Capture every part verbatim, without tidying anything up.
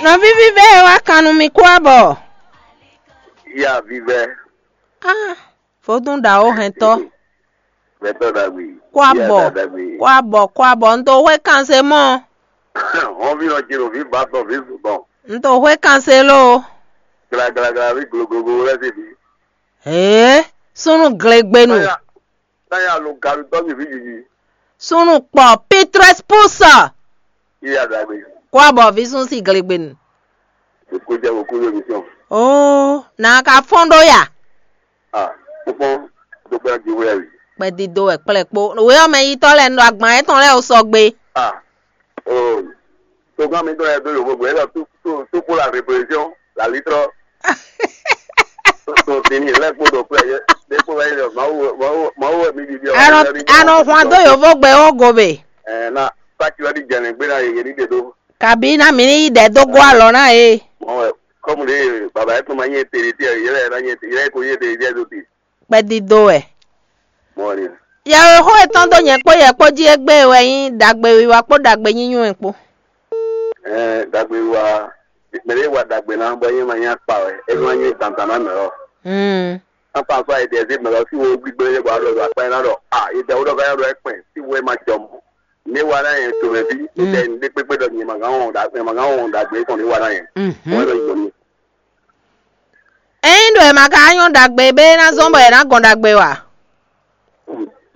Nɔví vívɛ́ e wá kan nú mi kú abɔ. Ya vívɛ́. Ah, vodún ɖawo hɛntɔ. Vɛtɔ ɖagbe. Kú abɔ. Kú abɔ, kú abɔ. Un to hwɛ kanse mɔ. Hɔn vi nɔ jino vi ba tɔn vi zun tɔn. Un to hwɛ kanse lo. Glaglagra vi gloglogo lɛ se bi. Ee, súnnu glegbenu. Táyà táyà lo galu tɔ́ mi vi jiji. Súnnu kpɔ Pitrɛs Pus. Iya ɖagbe. Kú abɔ vi sún si glegbenu. Kó jẹ́ kó kó yóò mi sàn. Oo, nà ka fɔ́n ɖó ya. Ah, kpɔ́n tó gbɛ́ jí wɛ wi. Kpɛdídó wɛ kplɛ́ kpó. Wé ɔ́ mɛ yitɔ́ lɛ́ɛ un ɖo agban étɔn lɛ́ɛ ó sɔgbe. Ah, oh, togán mi tɔn yɛ dó yòókù gbé lɔ tó tó tó kó la révolution la litrɔ. Tó tó tini lɛ kpó ɖo kplɛ yɛ ɖe kpó wɛ yɛ mawu mawu mawu wɛ mi ɖiɖi ɔ. Anɔ anɔ hwan dó yòókù gbé ó gobe. Ɛ na pati wɛ di jɛnɛ gbé na yeye ní ɖe ɖó. Kabi na mi ní yi ɖɛ dó gó alɔ ná e. Mɔ wɛ kɔmu ɖe baba yɛ tó ma nyɛ teri tɛ yɛ lɛ na nyɛ yɛ ko nyɛ teri tɛ do ti. Kpɛdídó wɛ. Mɔ ni. Yɛwexó etɔn dó nyɛ kpó yɛ kpó jí égbé wɛ nyí ɖagbe wiwa kpó ɖagbe nyínyɔ́ kpó. Ɛɛ ɖagbe wa mɛ ɖe wa ɖagbe na bɔ nyɛ ma nyɛ akpa wɛ e ma nyɛ dandan na mɛ ɔ. Hmm. Apa so ayi dɛ se mɛ lɔ si wo gbigbe le bɔ alɔ akpa na dɔ a yi dɛ wo dɔ ka ya dɔ ekpɛ si wo ma jɔ mɔ. Ne wa na yɛ to mɛ bi ne dɛ ne kpekpe dɔ nyɛ ma gan wɔn da nyɛ ma gan wɔn ɖagbe kɔn ne wa na yɛ. Mhm. Wɔn dɔ yi dɔ ni. Ényí ɖo è ma ka nyɔ́ ɖagbe bé ná zɔ́n bɔ è nǎ gɔn ɖagbe wa.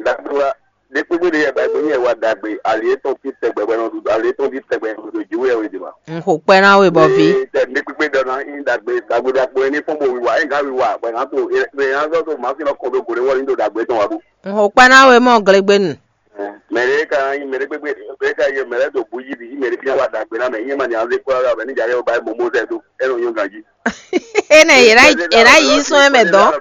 Ɖagbe wa ɖe kpégbé ɖe yɛ ba gbé nyɛ wa ɖagbe ali etɔn fi tɛgbɛ bɔ nɔ ɖu ali etɔn fi tɛgbɛ nɔ ɖu jiwu yɛ wɛ de ma. N xo kpɛ ná we bɔ vi. Tɛ ɖe kpégbé ɖɔ na in ɖagbe ɖagbe ɖagbe ní fɔn bo wiwa in ka wiwa bɔ na to e na zɔ to ma fi nɔ kɔn do gode wɔ ní do ɖagbe tɔn wa bu. N xo kpɛ ná we mɔ glegbenu. Mɛ ɖe ka nyi mɛ ɖe kpégbé ɖe ka yɛ mɛ ɖe do bu yi bi mɛ ɖe fi wa ɖagbe na mɛ yɛ ma ni anze kpɔ la bɛ ní dza yɛ ba momo zɛ do e nɔ nyɔ ganji. Ene yera yera yi sɔn eme dɔn.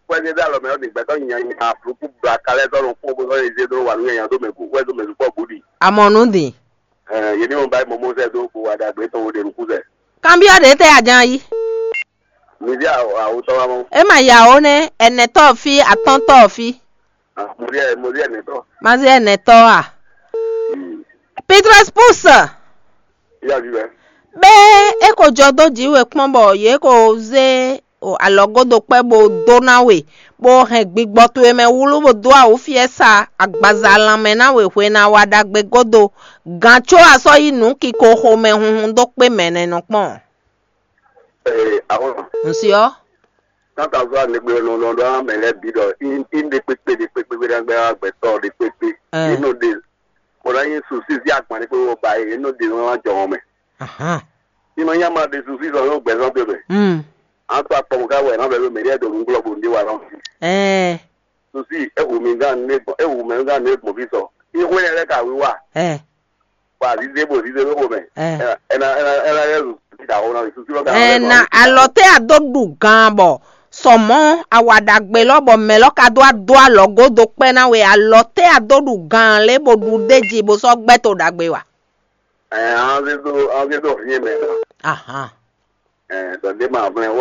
Kpɛdé dá lɔ mɛ ɔdi gbɛtɔ nya nya afluku bla kalɛ tɔ nɔ kpɔn bó sɔ eze dó wà nú nya dó mɛ gu wɛ dó mɛ dukpɔ gudi. Amɔnu di. Ɛ yé ní wọn bá mɔmɔ sɛ dó kó wa dàgbé tɔn wo ɖe nukú sɛ. Kanbiɔ ɖe tɛ ajan yi. Mìdí awotɔ wa mɔ. E ma ya wo ne, ɛnɛtɔ fi, atɔntɔ fi. Mɔdí ɛ mɔdí ɛnɛtɔ. Mazi ɛnɛtɔ a. Petrus Pus. Iya vi bɛ. Be e ko jɔ dó jǐ we kpɔ́n bɔ yě ko zé o alɔgódo kpɛ́ bó dó ná we, bó hɛn gbigbɔ towe mɛ wlú bó dó awǔ fiɛ́ sa agbaza lanmɛ ná we hwe ná wa ɖagbe gódo, gǎn có a sɔ́ yí nǔ kiko xomɛ hunhun dó kpé mɛ nɛ́ nɔ kpɔ́n. Ee, àwọn. Ŋsi ɔ́. Tata zɔ anegbe nɔ nɔ ɖɔ mɛ lɛ bi ɖɔ in in ɖe kpekpe ɖe kpekpe ɖe gbɛ gbɛtɔ ɖe kpekpe. Ɛɛ. Inɔ ɖe kò ɖɔ yin susi zi agban ɖe kpekpe ba ye inɔ ɖe nɔ jɔ wɔn mɛ. Ahan. Inɔ nya ma ɖe susi zɔ yɔ gbɛzɔn te mɛ. Hmm. An to akpɔ ka wɛ na bɛ mɛ ɖe do nugblɔ bo ndi wa lɔ. Ɛɛ. Susi ehu mi gan ne gbɔn ehu mɛ gan ne gbɔn fi sɔ. Ihwe lɛ ka wiwa. Ɛɛ. Wa zize bo zize bo xomɛ. Ɛ. Ɛna ɛna ɛna yɛ zu ti da xo na susu lɔ ka. Ɛna alɔ tɛ a dó ɖu gan bɔ sɔmɔ awa ɖagbe lɔ bɔ mɛ lɔ ka dó adó alɔ godo kpɛ na we alɔ tɛ a dó ɖu gan lé bo ɖu ɖe ji bo sɔ gbɛ to ɖagbe wa. Ɛ an zé do an zé do hiɛ mɛ na. Ahan. Ɛ dɔn de ma vlɛ wɔ.